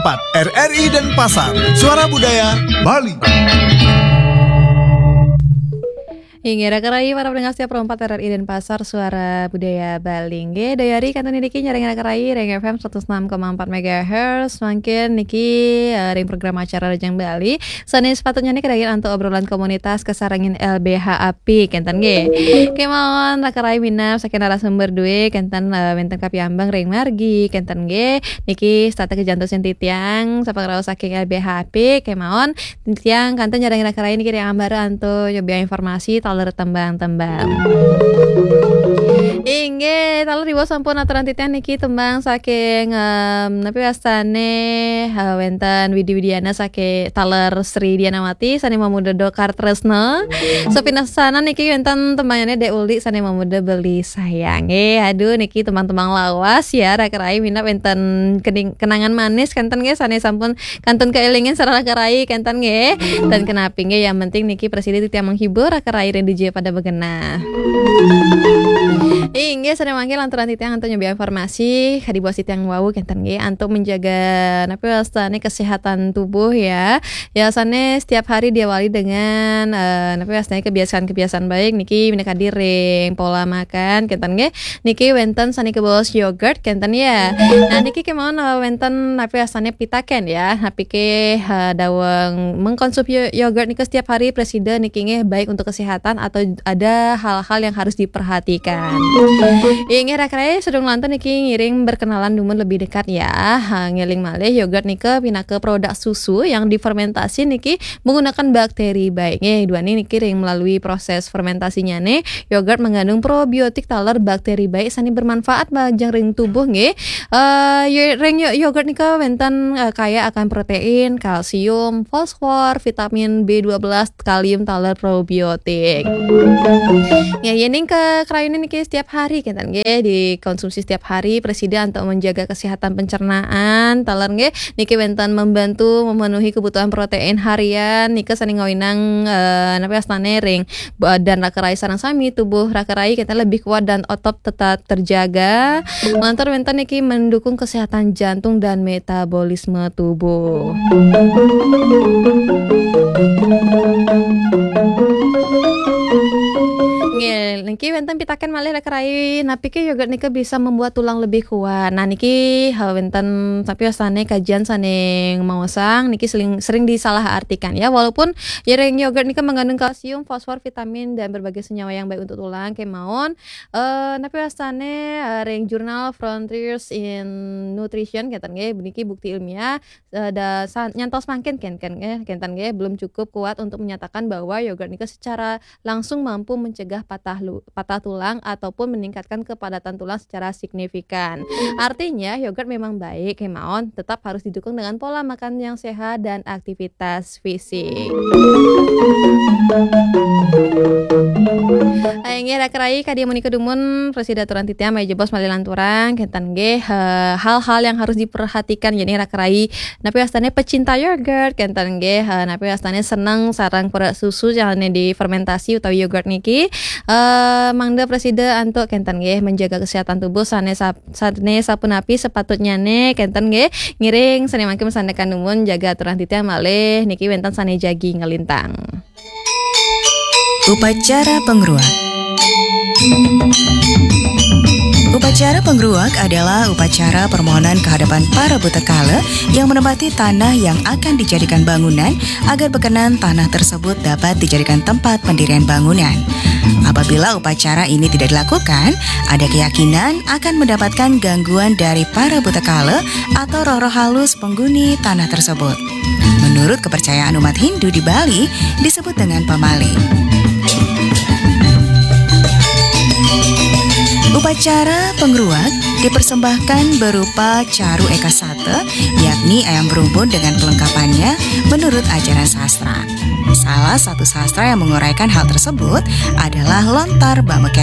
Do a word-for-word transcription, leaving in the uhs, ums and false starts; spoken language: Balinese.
R R I Denpasar, Suara Budaya Bali. Inggih, raka rayi para pendengar setia Pro empat R R I Denpasar, Suara Budaya Bali. Inggih, daya hari kantun niki nyarengin raka rayi ring F M seratus enam koma empat megahertz. Mangkin niki, eh, ring program acara Rajang Bali. Sane sepatutnya niki kadagian antuk obrolan komunitas kasarengin L B H A P, kenten nggih. Kemawon raka rayi minab saking narasumber due, kenten, eh, wenten kapiambeng ring margi, kenten nggih. Niki setata kajantosang titiang, sapangraos saking L B H A P, kemawon titiang kantun nyarengin raka rayi niki ring ambara antuk nyobiahang informasi taler tembang-tembang. Inggih, taler diwaos sampun aturan titiang niki tembang saking, em, napi wastane, eh, wenten Widi Widiana saking taler Sri Dianawati sane mamurda Dokar Tresna. Sapisan niki wenten tembangnyané Dék Uli sane mamurda Beli Sayang. Eh, aduh, niki tembang-tembang lawas ya, raka rayi minab wenten kening-, kenangan manis kenten nggih sane sampun kantun kaelingin sareng raka rayi kenten nggih. Dan kenapi nggih, yang penting niki prasida titiang menghibur raka rayi ring dija pada begenah. Inggih, sane mangkin lantaran titiang antuk nyobiahang informasi, kadi buat titiang wau kenten nggih, antuk menjaga napi wastane kesehatan tubuh ya. Ya, sane setiap hari diawali dengan, eh, napi wastane kebiasaan-kebiasaan baik niki minakadi ring pola makan kenten nggih. Niki wenten sane kabaos yogurt kenten ya. Nah, niki kemawon, eh, wenten napi wastane pitaken ya. Napike, eh, daweg mengkonsumsi yo-, yogurt nika setiap hari prasida niki nggih baik untuk kesehatan atau ada hal-hal yang harus diperhatikan. Inggih raka rayi, sadurung lantur niki ngiring berkenalan dumun lebih dekat ya. Ha, ngeling malih yogurt nika pinaka produk susu yang difermentasi niki menggunakan bakteri baik. Nggih, duaning niki ring melalui proses fermentasinyane, yogurt mengandung probiotik taler bakteri baik sane bermanfaat majeng ring tubuh nggih. Eh, yo-, ring yo-, yogurt nika wenten, eh, kaya akan protein, kalsium, fosfor, vitamin B dua belas, kalium taler probiotik. Ya, yening kakrayunin niki setiap hari kenten nggih, dikonsumsi setiap hari, prasida antuk menjaga kesehatan pencernaan taler nggih. Niki wenten membantu memenuhi kebutuhan protein harian, nika sane ngawinang, eh, napi wastane ring badan raka rayi sareng sami, tubuh raka rayi kenten lebih kuat dan otot tetap terjaga. Lantaran wenten niki mendukung kesehatan jantung dan metabolisme tubuh. Nggih, niki wenten pitaken malih raka rayi, napike yogurt nika bisa membuat tulang lebih kuat. Nah, niki, eh, wenten tapi wastane kajian sane maosang niki sering, sering disalahartikan ya. Walaupun ya ring yogurt nika mengandung kalsium, fosfor, vitamin dan berbagai senyawa yang baik untuk tulang kemawon. Eh, napi wastane, eh, ring jurnal Frontiers in Nutrition kenten nggih, niki bukti ilmiah, eh, da-, sa-, nyantos mangkin ken-, ken-, eh, kenten nggih, belum cukup kuat untuk menyatakan bahwa yogurt nika secara langsung mampu mencegah patah lu-, patah tulang ataupun meningkatkan kepadatan tulang secara signifikan. Artinya, yogurt memang baik kemawon, tetap harus didukung dengan pola makan yang sehat dan aktivitas fisik. Inggih raka rayi, kadi menika dumun prasida aturan titiang, malih jebos malih lanturang kenten nggih, eh, hal-hal yang harus diperhatikan yening raka rayi napi wastane pecinta yogurt kenten nggih, eh, napi wastane seneng sareng produk susu sane difermentasi utawi yogurt niki, eh, mangda prasida antuk kenten nggih menjaga kesehatan tubuh sane sap-, sane sapunapi sepatutnyane kenten nggih. Ngiring sane mangkin masandekan dumun jaga aturan titiang malih niki wenten sane jagi nglintang. Upacara pengruak. Upacara pengruak adalah upacara permohonan kehadapan para buta kala yang menempati tanah yang akan dijadikan bangunan agar berkenan tanah tersebut dapat dijadikan tempat pendirian bangunan. Apabila upacara ini tidak dilakukan, ada keyakinan akan mendapatkan gangguan dari para buta kala atau roh-roh halus penghuni tanah tersebut. Menurut kepercayaan umat Hindu di Bali, disebut dengan pamali. Upacara pengruak dipersembahkan berupa caru ekasata, yakni ayam berumbun dengan pelengkapannya menurut ajaran sastra. Salah satu sastra yang menguraikan hal tersebut adalah lontar Bameken.